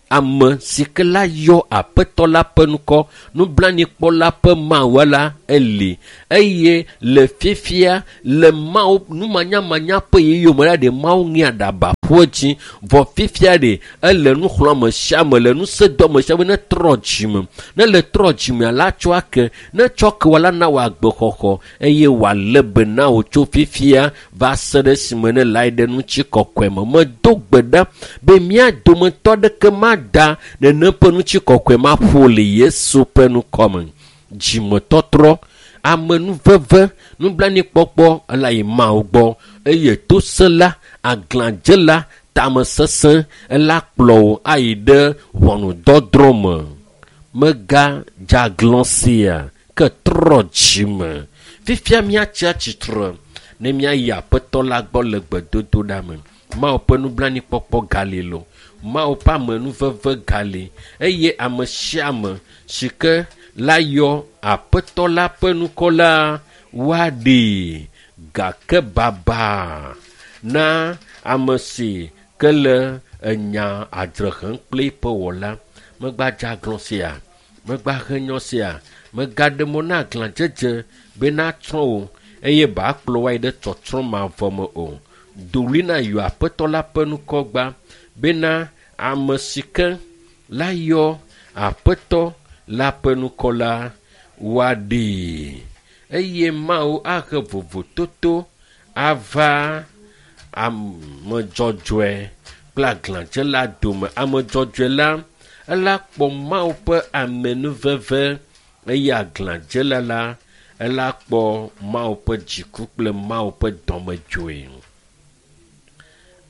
S1: ame si ke la yɔ Aƒetɔ la ƒe ŋkɔ, nublanuikpɔla ƒe Mawu la eli. Eye le fifia, le Mawu numanyamanya ƒe ɣeyiɣi me la, ɖe Mawu ŋe aɖaba ƒu edzi. Vɔ fifia ɖe, ele nu xlɔ̃ ame sia ame, le ŋusẽ dom ame sia ame ne trɔ dzime. Ne le trɔ dzimea la, tsɔ ake. Ne tsɔ ke wò la, na wò agbexɔxɔ eye wòalé be na wò tso fifia va se ɖe esime ne le ayi ɖe ŋutikɔkɔe me. Medo gbe ɖa be mía dometɔ aɖeke mada nenem ƒe ŋutikɔkɔe ma ƒo le Yesu ƒe ŋkɔ me. Dzimetɔtrɔ, amenuveve, nublanuikpɔkpɔ ele ayi Mawu gbɔ eye tosẽla, aglãdzela, tamesesẽ ela kplɔ wò ayi ɖe ʋɔnudɔdrɔ̃ me. Megadze aglã sia ke trɔ dzime. Fifia míatsi atsitre ne míayi Aƒetɔ la gbɔ le gbedodoɖa me. Mawu ƒe nublanuikpɔkpɔ gali loo, Mawu ƒe amenuveve gali eye ame sia ame si ke la yɔ Aƒetɔ la ƒe ŋkɔ la, woaɖee. Gake baba na ame si ke le enya adzre hem kple eƒe wɔla. Megbadze aglã sia, megbahe nyɔ sia, megaɖe mɔ na aglãdzedze be natsrɔ̃ wò eye bakplɔ wò ayi ɖe tsɔtsrɔ̃ mavɔ me o. Do ɣli na yɔ Aƒetɔ la ƒe ŋkɔ gbã bena ame si ke la yɔ Aƒetɔ la ƒe ŋkɔ la, woaɖee. Eye Mawu ahe vovototo ava ame dzɔdzɔe kple aglãdzela dome. Ame dzɔdzɔe la, ela kpɔ Mawu ƒe amenuveve eye aglãdzela la, ela kpɔ Mawu ƒe dziku kple Mawu ƒe dɔmedzoe.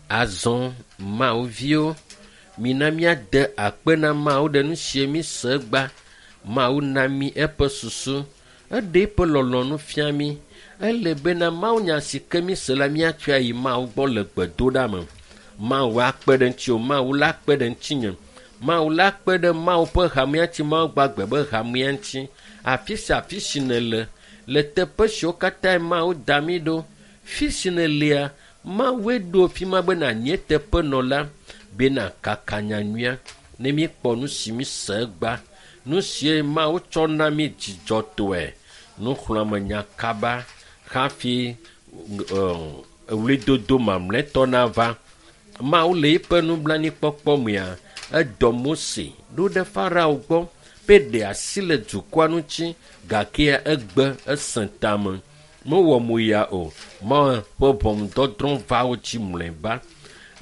S1: Azɔ Mawu viwo, mina míade akpe na Mawu ɖe nu sie mí se egba. Mawu na mí eƒe susu, eɖe eƒe lɔlɔ̃nu fia mí. Ele bena Mawunya si ke mí se la, míatsɔe ayi Mawu gbɔ le gbedoɖa me. Mawu akpe ɖe ŋutiwò, Mawu la akpe ɖe ŋutinye. Mawu la akpe ɖe Mawu ƒe hamea ŋuti, Mawu gbagbe be hamea ŋuti. Afi sia afi si nèle, le teƒe siwo katã Mawu da mí ɖo, fi si nèlea, Mawue ɖo fi ma be nànye teƒenɔla bena kaka nyanyuia ne míekpɔ nu si mí se egba, nu sie Mawu tsɔ na mí dzidzɔtɔe. Nuxlɔ̃amenya kaba hafi ɣlidodo mamlɛtɔ nava. Mawu le eƒe nublanuikpɔkpɔ mea, edɔ Mose ɖo ɖe Farao gbɔ be ɖe asi le dukɔa ŋuti gake egbe esẽ tame. Mewɔ mo ya o. Mawu ƒe ʋɔnudɔdrɔ̃ va wo dzi mlɔeba.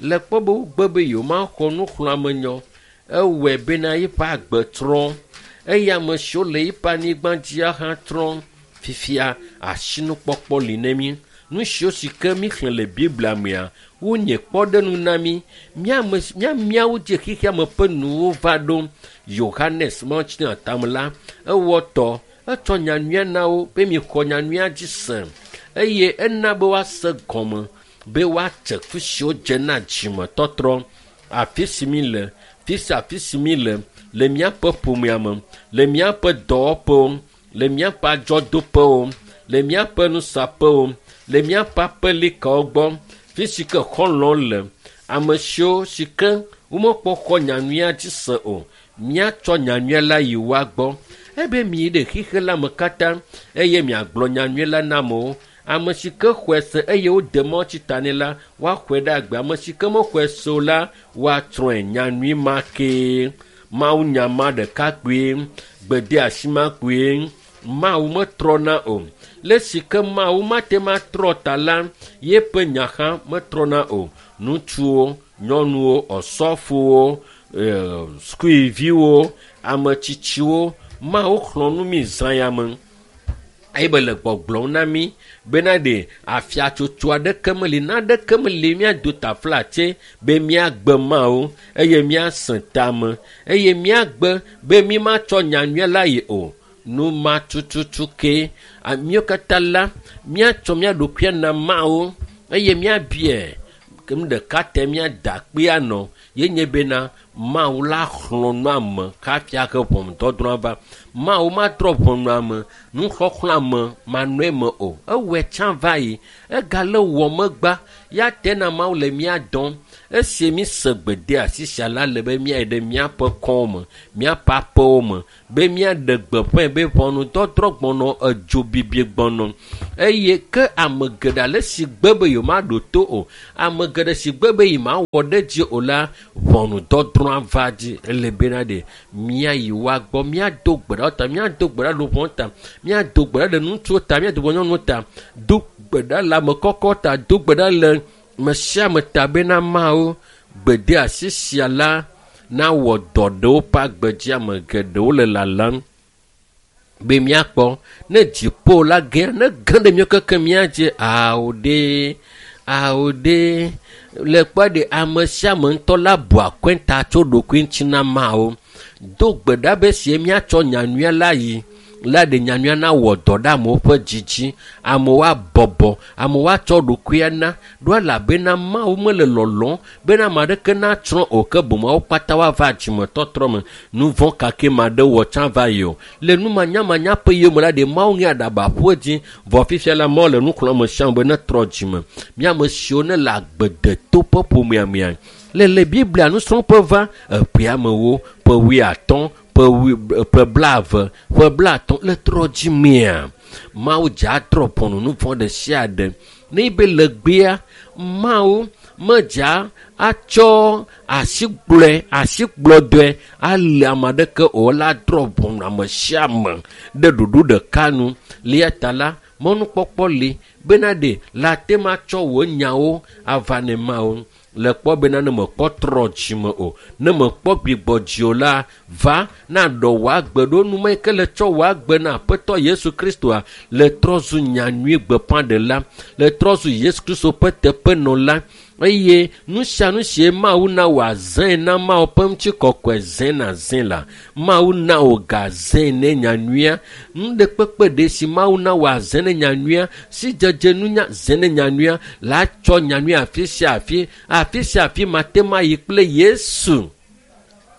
S1: Le kpɔ be wogbe be yewomaxɔ nuxlɔ̃amenyɔ, ewɔe bena eƒe agbe trɔ eye ame siwo le eƒe anyigba dzia hã trɔ. Fifia asinukpɔkpɔ li ne mí. Nu siwo si ke míxlẽ le Biblia mea, wonye kpɔɖeŋu na mí. Míawo dzi xexea me ƒe nuwo va ɖo. Yohanes Mawutsinya tame la, ewɔ tɔ, etsɔ nyanyuia na wo be mixɔ nyanyuia dzi se eye ena be woase gɔme be woatse ku siwo dze na dzimetɔtrɔ. Afi si mí le, fi sia afi si mí le, le míaƒe ƒomea me, le míaƒe dɔwɔƒewo, le míaƒe adzɔdoƒewo, le míaƒe nusaƒewo, le míaƒe aƒelikawo gbɔ, fi si ke xɔlɔ̃ le, ame siwo si ke womekpɔ xɔ nyanyuia dzi se o, míatsɔ nyanyuia la yi woa gbɔ. Ebe miyi ɖe xexe la me katã eye miagblɔ nyanyui la na amewo. Ame si ke xɔe se eye wode mɔ tsi ta nɛ la, woaxɔe ɖe agbe. Ame si ke mexɔe se o la, woatsrɔ̃e. Nyanyui ma kee, Mawunya ma ɖeka kpoe, gbedeasi ma kpoe. Mawu metrɔna o. Le si ke Mawu mate ŋu atrɔ ta la, yeƒe nya hã metrɔna o. Ŋutsuwo, nyɔnuwo, osɔfowo, sukuviwo, ame tsitsiwo, Mawu xlɔ̃ nu mí zã ya me. Eye be le gbɔgblɔm na mí bena ɖe afiatsotso aɖeke meli, naneke meli míado taflatse be míagbe Mawu eye míasẽ tame eye míagbe be mímatsɔ nyanyuia la yi o. Nu ma tututu ke míawo katã la míatsɔ mía ɖokuia na Mawu eye míabiae ke nu ɖeka te míada akpe anɔ ye nye bena Mawu la xlɔ̃ nu ame hafi ahe ʋɔnudɔdrɔ̃ va. Mawu matrɔ ʋɔnu ame, nuxɔxlɔ̃ ame manɔe me o. Ewɔe tsã va yi, egale wɔ megba ya te na Mawu le mía dɔm. Esi míse gbedeasi sia la le be míayi ɖe míaƒe kɔwo me, míaƒe aƒewo me, be míaɖe gbeƒãe be ʋɔnudɔdrɔ̃ gbɔnɔ, edzo bibi gbɔnɔ. Eye ke ame geɖe ale si gbe be yewomaɖo to o, ame geɖe si gbe be yemawɔ ɖe edzi o la, ʋɔnudɔdrɔ̃a va dzi. Ele bena ɖe míayi woa gbɔ, míado gbe ɖa ta, míado gbe ɖa ɖe ʋɔ ta, míado gbe ɖa ɖe ŋutsuwo ta, míado gbe ɖa nyɔnuwo ta, do gbe ɖa le ame kɔkɔ ta, do gbe ɖa le me sia ame ta bena Mawu gbedeasi sia la nawɔ dɔ ɖe woƒe agbe dzi. Ame geɖewo le lalam be míakpɔ ne dziƒo la ge, ne ge ɖe míawo keke mía dzi. Ao ɖe, ao ɖe, le kpɔ ɖe ame sia ame ŋutɔ la bu akɔnta tso ɖokui ŋuti na Mawu. Do gbe ɖa be sie míatsɔ nyanyuia la yi la ɖe nyanyuia nawɔ dɔ ɖe amewo ƒe dzi dzi. Amewo abɔbɔ, amewo atsɔ ɖokuia na ɖo elabena Mawu mele lɔlɔ̃m bena ame aɖeke natsrɔ̃ o, ke boŋ wo katã woava dzimetɔtrɔ me. Nu vɔ̃ kake ma ɖe wɔ tsã va yi o. Le numanyamanya ƒe yome la ɖe Mawu ŋe aɖaba ƒu edzi. Vɔ fifia la Mawu le nu xlɔ̃m ame sia ame be netrɔ dzime. Mía ame siwo ne le agbe deto ƒe ƒomea mea, le Biblia nusrɔ̃ƒe va eƒea amewo ƒe 50, ƒe 70, ƒe 50 le trɔ dzimea. Mawu dze atrɔ ʋɔnu nu vɔ̃ ɖe sia ɖe. Ne be le gbea, Mawu medza atsɔ asikplɔdɔe ale ame aɖeke o, la drɔ ʋɔnu ame sia ame ɖe ɖoɖo ɖeka nu. Le ta la, mɔnukpɔkpɔ li bena ɖe la te ma tsɔ wò nyawo ava ne Mawu. Le kpɔ bena ne mekpɔ trɔ dzime o, ne mekpɔ gbigbɔ dzi o la, va na ɖɔ wò agbe ɖo. Nu ma yi ke le tsɔ wò agbe na Aƒetɔ Yesu Kristoa, le trɔ zu nyanyui gbeƒãɖela, le trɔ zu Yesu Kristo ƒe teƒenɔla. Eye nu sia nu sie Mawu na wò azãe na Mawu ƒe ŋutikɔkɔe zẽ na zẽ la, Mawu na wò ga zẽ ne nyanyuia. Nu ɖe kpekpe ɖe si Mawu na wò azẽ ne nyanyuia, si dzedze nunya zẽ ne nyanyuia, la tsɔ nyanyuia afi sia afi, afi sia afi mate ma yi kple Yesu.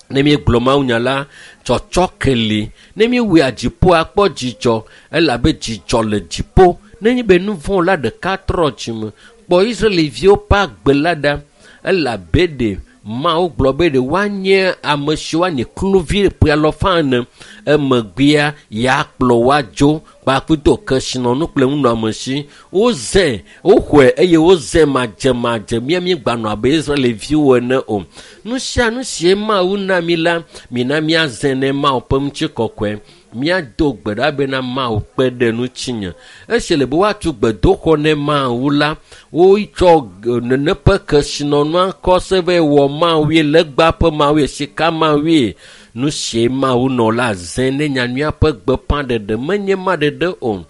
S1: Ne míegblɔ Mawu nya la, tsɔtsɔ ke li. Ne míewɔe dziƒo akpɔ dzidzɔ, elabe dzidzɔ le dziƒo. Nenye be nu vɔ̃ la ɖeka trɔ dzime, kpɔ Israelviwo ƒe agbe la ɖa, elabe ɖe Mawu gblɔ be ɖe woanye ame siwo anye kluvi ƒe alafa ene, emegbea yeakplɔ wo adzo kpakple kesinɔnu kple nunɔamesi. Wozẽ, woxɔe eye wozẽ madzemadze. Mía míegbanɔ abe Israelviwo ene o. Nu sia nu sie Mawu na mí la, mina míazẽ ne Mawu ƒe ŋutikɔkɔe. Míado gbe ɖa bena Mawu kpe ɖe ŋutinye. Esi le be woatu gbedoxɔ ne Mawu la, wotsɔ nene ƒe kesinɔnua kɔ se be wɔ Mawue, legba ƒe Mawue, sika Mawue. Nu sie Mawu nɔ la zẽ ne nyanyuia ƒe gbeƒãɖeɖe menye ma ɖeɖe o.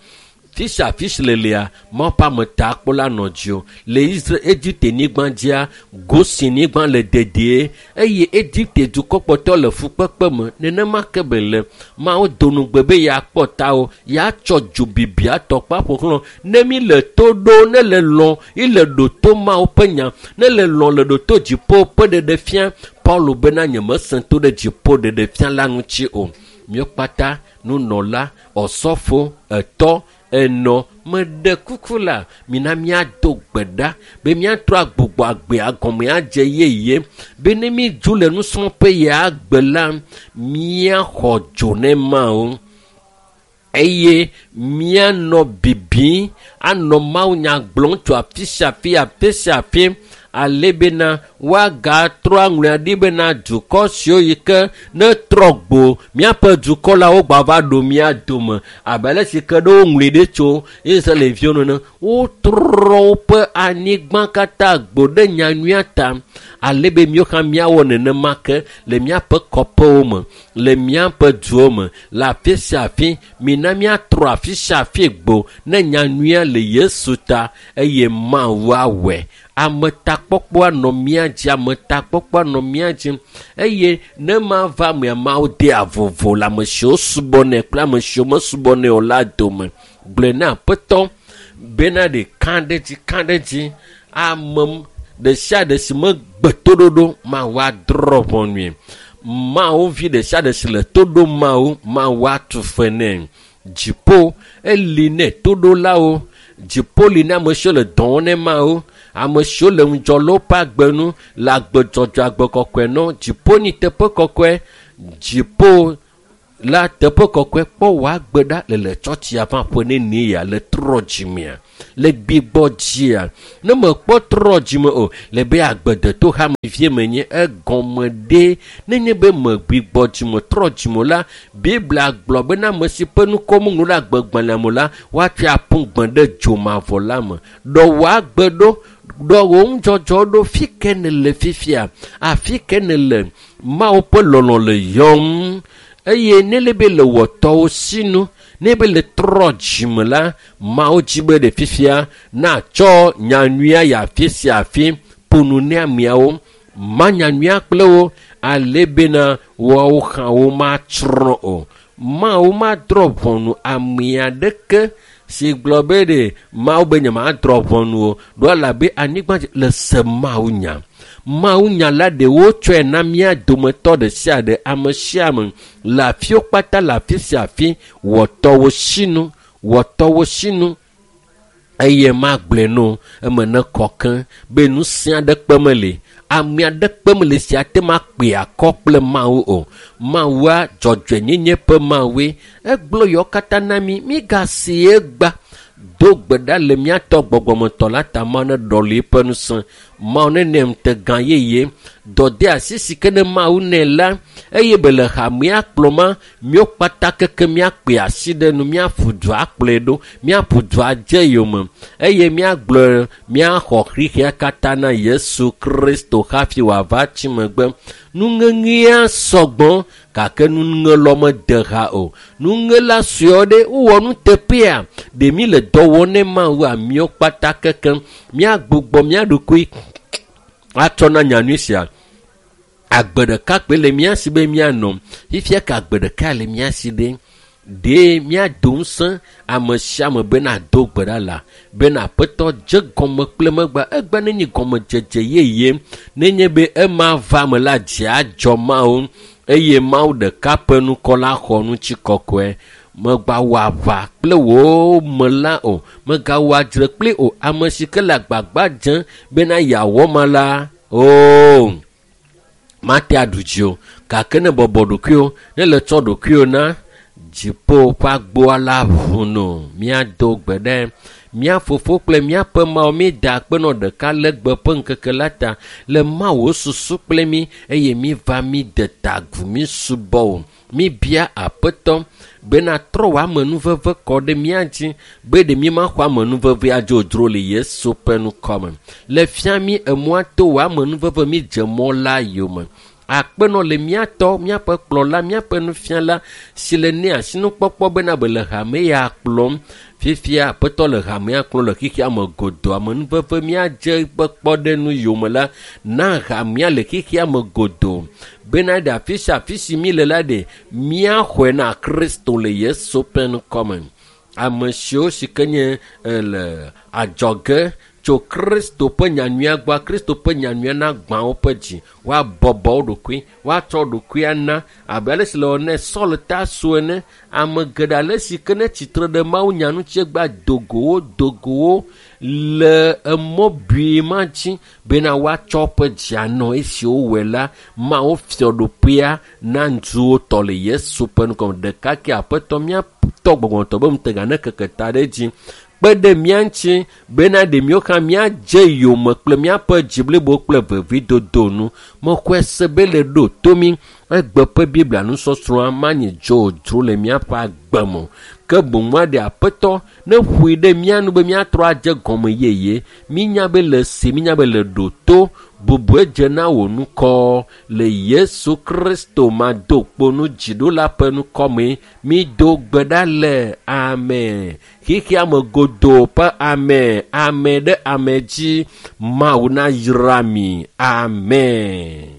S1: Fi sia afi si le lia, Mawu ƒe ametakpɔla nɔ dzi o. Le Israel, Egipte nyigba dzia, Gosen nyigba le dedie eye Egipte dukɔkpɔtɔ le fukpekpe me. Nenema ke be le Mawu do nugbe be yeakpɔ ta o, yeatsɔ dzo bibi atɔkpa ƒo xlã. Ne mi le to ɖo, ne le lɔ̃, ile ɖo to Mawu ƒe nya, ne le lɔ̃ le ɖo to dziƒo ƒe ɖeɖefia. Paulo bena nyemesẽ to ɖe dziƒo ɖeɖefia la ŋuti o. Míawo kpata nunɔla, ɔsɔfo, etɔ, enɔ, meɖe kuku la, mina míado gbe ɖa be míatrɔ agbugbɔ agbea gɔme adze yeye be ne mídzo le nusrɔ̃ƒe ya agbe la, míaxɔ dzo ne Mawu eye míanɔ bibim anɔ Mawu nya gblɔm tso afi sia afi, afi sia afi, ale bena woagatrɔ aŋlɔe ɖi bena dukɔ siwo yi ke ne trɔ gbo míaƒe dukɔ la wogbava va ɖo mía dome abe ale si ke ɖe woŋlɔe ɖi tso Israelviwo nene. Wotrɔ woƒe anyigba katã gbo ɖe nyanyuia ta. Ale be míawo hã míawɔ nenema ke le míaƒe kɔƒewo me, le míaƒe duwo me, le afi sia afi. Mina míatrɔ afi sia afi gbo ne nyanyuia le Yesu ta eye Mawu awɔe. Ametakpɔkpɔ anɔ mía dzi, ametakpɔkpɔ anɔ mía dzi eye ne mava mea Mawu dea vovo le ame siwo subɔnɛ kple ame siwo mesubɔnɛ o la dome. Gblɔe na Aƒetɔ bena ɖe ka ɖe dzi ka ɖe dzi ame ɖe sia ɖe si megbe toɖoɖo Mawu adrɔ̃ ʋɔnui. Mawu vi ɖe sia ɖe si le to ɖom Mawu, Mawu atu fe nɛ. Dziƒo eli nɛ toɖolawo. Dziƒo li na ame siwo le dɔ wɔm ne Mawu. Ame siwo le ŋudzɔ le woƒe agbe nu le agbe dzɔdzɔe agbe kɔkɔe nɔ. Dziƒo nyi teƒe kɔkɔe. Dziƒo la teƒe kɔkɔe kpɔ wò agbe ɖa le le tsɔtsia va ƒe nenie ya le trɔ dzimea le gbigbɔ dzia ne mekpɔ trɔ dzime o le be agbedeto hamevie menye egɔme ɖe nenye be megbigbɔ dzime trɔ dzime la Biblia gblɔ bena ame si ƒe ŋkɔ meŋlɔ ɖe agbegbalẽa me la woatsɔe aƒu gbe ɖe dzomavɔ la me. Ɖɔ wò agbe ɖo, ɖɔ wò ŋudzɔdzɔ ɖo fi ke nèle fifia, afi ke nèle Mawu ƒe lɔlɔ̃ le yɔm eye ne le be le wɔtɔwo sinu ne be le trɔ dzime la Mawu dzi be ɖe fifia natsɔ nyanyuia yi afi sia afi ƒo nu ne ameawo ma nyanyuia kple wo ale bena woawo hã womatsrɔ̃ o. Mawu madrɔ̃ ʋɔnu ame aɖeke si gblɔ be ɖe Mawu be nyemadrɔ̃ ʋɔnu o ɖo elabe anyigba dzi le se Mawu nya. Mawu nya la ɖe wotsɔe na mía dometɔ ɖe sia ɖe ame sia ame le afiwo kpata le afi sia afi wɔtɔwo sinu wɔtɔwo sinu eye magblɔe no eme ne kɔ ke be nu sia ɖe kpe meli ame aɖe kpe meli sia te ma kpe akɔ kple Mawu o. Mawua dzɔdzɔenyenye ƒe Mawue egblɔ yewo katã na mí mígasi egba do gbe ɖa le míatɔ gbɔgbɔmetɔ la ta Mawu ne ɖɔli eƒe ŋusẽ Mawu ne nɛ ŋutegã yeye dɔde asi si ke ne Mawu nɛ la eye be le hamea kplɔma míawo kpata keke míakpe asi ɖe nu míaƒu du akplɔe ɖo míaƒu du adze yome eye míagblɔ míaxɔ xixia katã na Yesu Kristo hafi wòava tsi megbe. Nuŋeŋea sɔgbɔ gake nuŋelɔ mede ha o. Nuŋela suewo ɖe wowɔ nuteƒea ɖe mí le dɔ wɔm ne Mawu míawo kpata keke míagbugbɔ mía ɖokui atsɔ na nyanyui sia. Agbe ɖeka kpoe le mía si be míanɔ. Fifia ke agbe ɖeka le mía si ɖe ɖe míado ŋusẽ ame sia ame bena do gbe ɖa la bena Aƒetɔ dze gɔme kple megbe egbe nenye gɔmedzedze yeye nenye be ema va me la dzi adzɔ Mawu eye Mawu ɖeka ƒe ŋkɔ la xɔ ŋuti kɔkɔe. Megawɔ aʋa kple wò me la o, megawɔ adzre kpli o. Ame si ke le agbagba dzem bena yeawɔ ma la oo mate aɖu dzi o gake ne bɔbɔ ɖokuiwò ne le tsɔ ɖokuiwò na dziƒo ƒe agboa la ʋu no. Míado gbe ɖe mía fofo kple míaƒe Mawu míeda akpe nɔ ɖeka le gbe ƒe ŋkeke la ta le Mawu susu kple mí eye míva mí de ta agu mí subɔ o. Míbia Aƒetɔ bena trɔ wò amenuveve kɔ ɖe mía dzi be ɖe mímaxɔ amenuveve adzodzro le Yesu ƒe ŋkɔ me. Le fia mí emɔa to wò amenuveve mídze mɔ la yome. Akpenɔ le míatɔ, míaƒe kplɔla, míaƒe nufiala si le nɛ asinukpɔkpɔ bena be le hame ya kplɔm. Fifia Aƒetɔ le hamea kplɔm le xexea me godoo. Amenuveve míadze eƒe kpɔɖeŋu yome la na hamea le xexea me godoo bena ɖe afi sia afi si mí le la ɖe míaxɔe na Kristo le Yesu ƒe ŋkɔ me. Ame siwo si ke nye le adzɔge tso Kristo ƒe nyanyuia gbɔ, Kristo ƒe nyanyuia nagbã woƒe dzi, woabɔbɔ wo ɖokui, woatsɔ ɖokui ana abe ale si le wɔ ne Saul Tarso ene. Ame geɖe ale si ke ne tsitre ɖe Mawu nya ŋuti egba dogowo dogowo le emɔ bui ma dzi bena woatsɔ woƒe dzi anɔ esi wowɔe la Mawu fiaɖuƒea na ŋutsuwo tɔ le Yesu ƒe ŋkɔ me. Ɖeka ke Aƒetɔ míatɔ gbɔgbɔmetɔ be ŋutega ne keke ta ɖe edzi kpe ɖe mía ŋuti bena ɖe míawo hã míadze yome kple míaƒe dzi blibo kple vevidodo nu. Mexɔe se be le ɖo to mí egbe ƒe Biblia nusɔsrɔ̃a manyi dzodzro le míaƒe agbe me o. Ke boŋ aɖe Aƒetɔ ne ƒoe ɖe mía nu be míatrɔ adze gɔme yeye. Mínya be le si, mínya be le ɖo to. Bubue dze na wò ŋkɔ le Yesu Kristo madokponu dziɖula ƒe ŋkɔme. Mido gbe ɖa le amen. Xexea me godoo ƒe ame, ame ɖe ame dzi. Mawu nayra mi. Amen.